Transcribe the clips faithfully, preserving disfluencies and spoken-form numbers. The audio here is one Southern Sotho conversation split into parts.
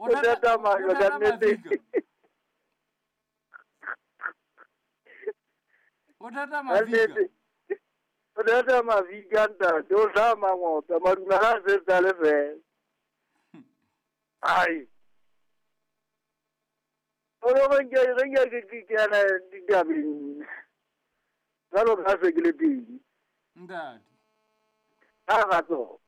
O thata majwe ka nnete. O thata mafika. O thata mafika ntate, o tla mangota madumela a se le fela. Ai. O re ke re ke ke ke ana ditabeng. Jalo ka se ke le pedi. Ntate. Ha ga tso.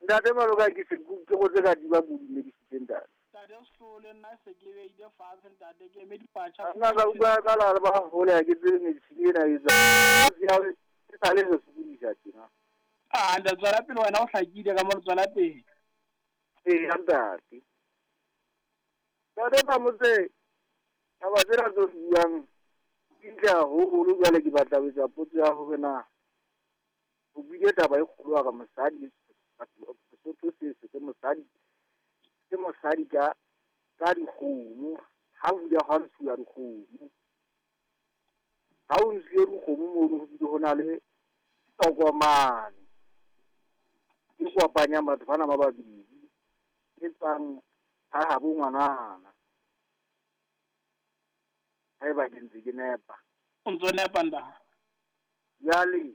Ntate maloka ke se ke go tse ka di ba bodumedisitse ntate. Ntate Sehloho le nna se ke beile fatshe ntate ke eme dipatjha. Nna ka utlwa ka la ba hole ha ke tsebe medicine ena e tsa. E sa le re sokodisa tjena. Ah ntate tswela pele wena o hlakile ka mo tswela pele. Ee ntate. Ntate Phamotse taba tsena tse buang di ntle haholo jwale ke batla ho etsa potso ya hore na o buile taba e kgolo ka mosadi Sesotho se se ke mosadi ke mosadi ka ka dikgomo ha o bile ha ntshuwa dikgomo ha o ntshuwe dikgomo mono ho bile ho na le tokomane e kopanya batho bana ba babedi e tswang ha habo ngwanana haeba ke ntse ke nepa. O ntso nepa nda. Jwale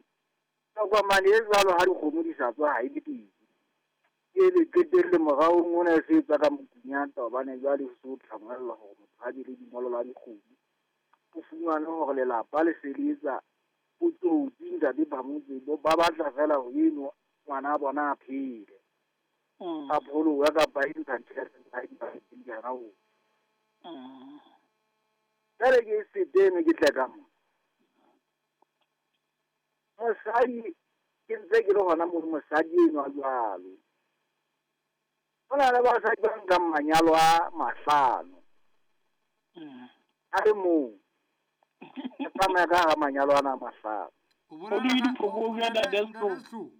tokomane e jwalo ha dikgomo di sa tswa ha e le teng. Ke le qetelle morao mona e se tswa ka mokunyata hobane jwale ho se ho tlangwella hore motho ha be le dingolo la dikgomo. O fumane hore lelapa le se le etsa botsotsi ntate Phamotse ba batla fela ho eno ngwana bona a phele. A pholoha kapa e ntsha tjhelete ha di ba di hana ho. Jwale ke setene ke tle ka mo. Mosadi ke ntse ke le hona mo mosadi enwa jwalo. Ho na le basadi ba nkang manyalo a mahlano. A le mong. E tsamaya ka hara manyalo ana a mahlano. O bolela ka ntate Sehloho.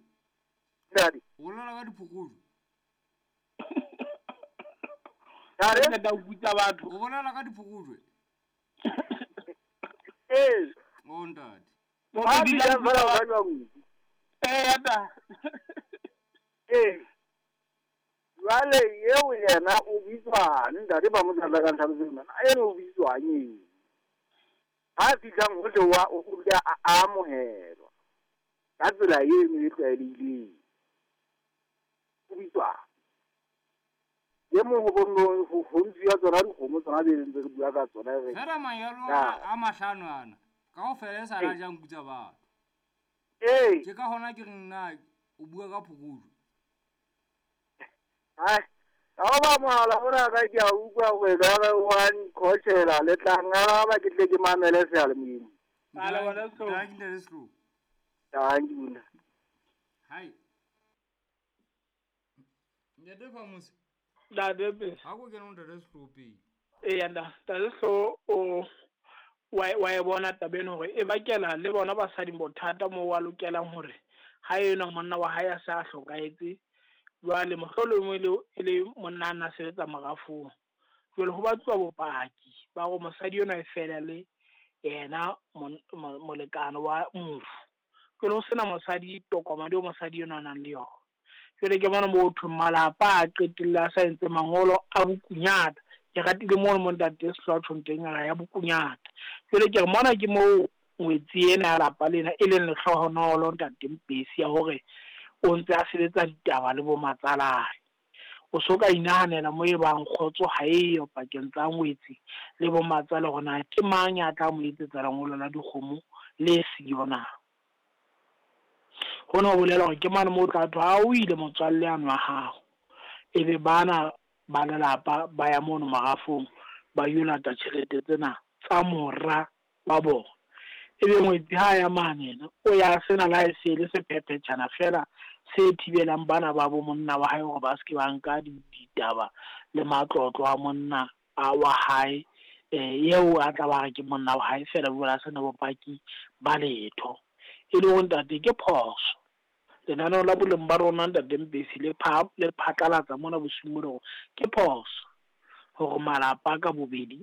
Ntate. O bolela ka diphokojwe. Ntate da ukutsa batho. O bolela ka diphokojwe. Eh. O ntate. Ba di la fela ba jwang. Eh ata. Eh. Jwale eo yena o bitswang ntate ba mo tsala ka ntlha tsena. Eno o bitswang eng? Ha fihlang ho wa o dula a amohelwa. Ka tsela eno e tlwaelehileng. O bitswang. E mong ho bonno ho ntshiwa tsona dikgomo tsona be ntse re bua ka tsona re. Fela manyalo a mahlano ana kaofela e sa la jang kutsa batho. Eh. Ke ka hona ke re nna o bua ka phokojwe. Ai, ha ba mohala ona ka ke a utlwa hore ka re wa nkhochela le tla ngaraba ke tle ke mamele seyalemoyeng. Ala bona so. Ntate ntate Sehloho. Thank you. Hai. Ntate Phamotse. Ntate pe. Ha go kena ntate Sehloho pele. Ee nda, ntate Sehloho o wa wa e bona taba eno hore e bakela le bona basadi bothata mo wa lokelang hore ha ena monna wa hae a sa hlokahetse. Jwale mohlolomong le e le monna a na sebetsa morafong. Jwale ho batluwa bopaki ba hore mosadi enwa e fela le yena molekane wa mofu. Jwale ho sena mosadi tokomane eo mosadi enwa a nang le yona. Jwale ke bona moo thweng malapa a qetelle a sa entse mangolo a bokunyata. Ke ratile mono mo ntate Sehloho a tjhong teng a ya bokunyata. Jwale ke re mona ke moo ngwetsi ena ya lapa lena e leng lehlohonolo ntate Mpesi ya hore o ntse a sebetsa ditaba le bo matsalae. O so ka inahanela mo e bang kgotso ha eyo pakeng tsa ngwetsi le bo matsale hore na ke mang ya tla mo etsetsa lengolo la dikgomo le siyo na. Hona ho bolela hore ke mane moo o tla thwa ha o ile motswalle ano wa hao. Ebe bana ba lelapa ba ya mono marafong ba yo lata tjhelete tsena tsa mora wa bona. Ebe ngwetsi ha ya mane yena o ya sena la e se le sephephetjhana fela se thibelang bana ba bo monna wa hae hore ba se ke ba nka ditaba le matlotlo a monna a wa hae eh eo a tla ba re ke monna wa hae fela jwale a sena bopaki ba letho. E le hore ntate ke phoso. Lenaneo la boleng ba rona ntate Mpesi le pha le phatlalatsa mona bosiung bona hore ke phoso hore malapa ka bobedi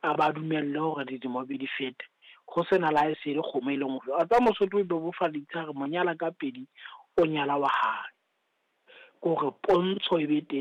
a ba dumelle hore dilemo di fete ho sena la e se le kgomo e leng hore a tsa Mosotho e bebofaditse re monyala ka pedi o nyala wa hae. Ke hore pontsho e be teng.